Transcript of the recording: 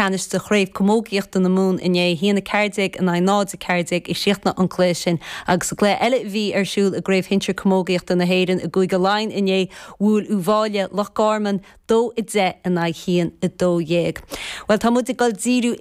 ceannais de Chraobh Camógaíochta na Mumhan inné, 1-14 in aghaidh 0-14 a chríochnaigh an cluiche sin. Agus sa gcluiche eile a bhí ar siúl i gCraobh Shinsir Camógaíochta na hÉireann i gCúige Laighean inné, bhuail Uíbh Fhailí Loch Garman, 2-10 in aghaidh 1-12. Bhuel, tá muid ag dul díriú.